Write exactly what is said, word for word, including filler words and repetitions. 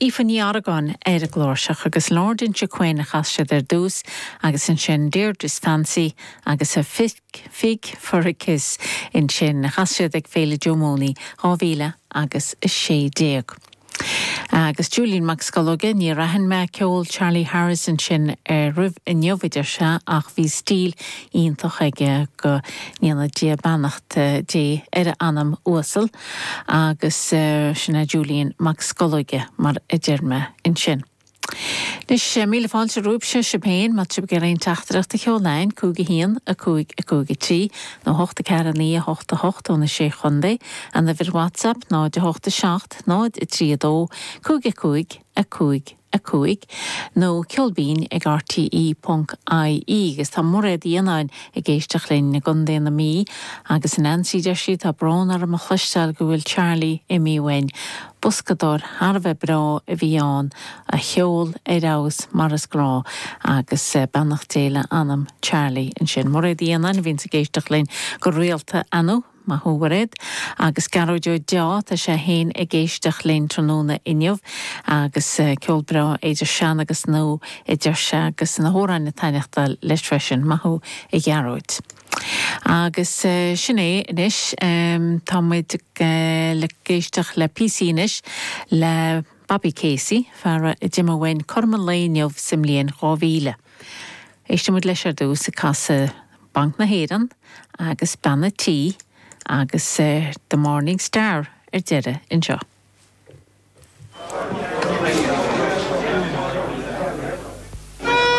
Aoife Ní Argáin ar an gcláirseach agus Lord Inchiquin a chas siad ar dtús agus ansin Deirdre's Fancy agus a Fig, Fig for a Kiss ansin chas siad ag Féile Joe Mooney dhá mhíle agus a sé déag. Agus Julian Mac Scolóige níor aithin mé ceol Charlie Harris ansin ar roimh inniu a deir sé ach bhí stíl iontach aige go ndéana Dia beannacht Dé ar a anam uasal agus sin é Julian Mac Scolóige mar a deir mé ansin. Anois míle fáilte romhaibhse sibh féin má tá sibh ag iarraidh aon teachtaireacht a sheoladh cúig a haon a cúig a cúig a trí nó hocht a ceathair a naoi a hocht a hocht ó na sé chontae an uimhir WhatsApp náid a hocht a seacht náid a trí a dó cúig a cúig a cúig a cúig nó ceolbinn ag RTE ponc IE agus tá Mairéad Uí Fhionnáin ag éisteacht linn i gContae na Mí agus a Nancy deir sí tá brón orm a chloisteáil go bhfuil Charlie imithe uainn. Boscadóir thar a bheith breá a bhí ann a cheol ar fheabhas mar is gnách agus beannacht Dé le anam Charlie ansin. Mairéad Uí Fhionnáin a bhíonn ag éisteacht linn go rialta anu. Maith thú a Mhairéad agus Gearóid Ó Deá tá sé féin ag éisteacht linn tráthnóna inniu agus ceol breá idir sean agus nua a deir sé agus na hamhráin ag taitneachtáil leis freisin maith thú a Ghearóid. Agus sin é anois tá muid le éisteacht le píosa anois le Bobby Casey, fear a d'imigh uainn cothrom an lae inniu sa mbliain dhá mhíle. Éistfidh muid leis ar dtús ag casadh Banc na hÉireann agus Bean an Tí agus The Morning Star ar deireadh anseo.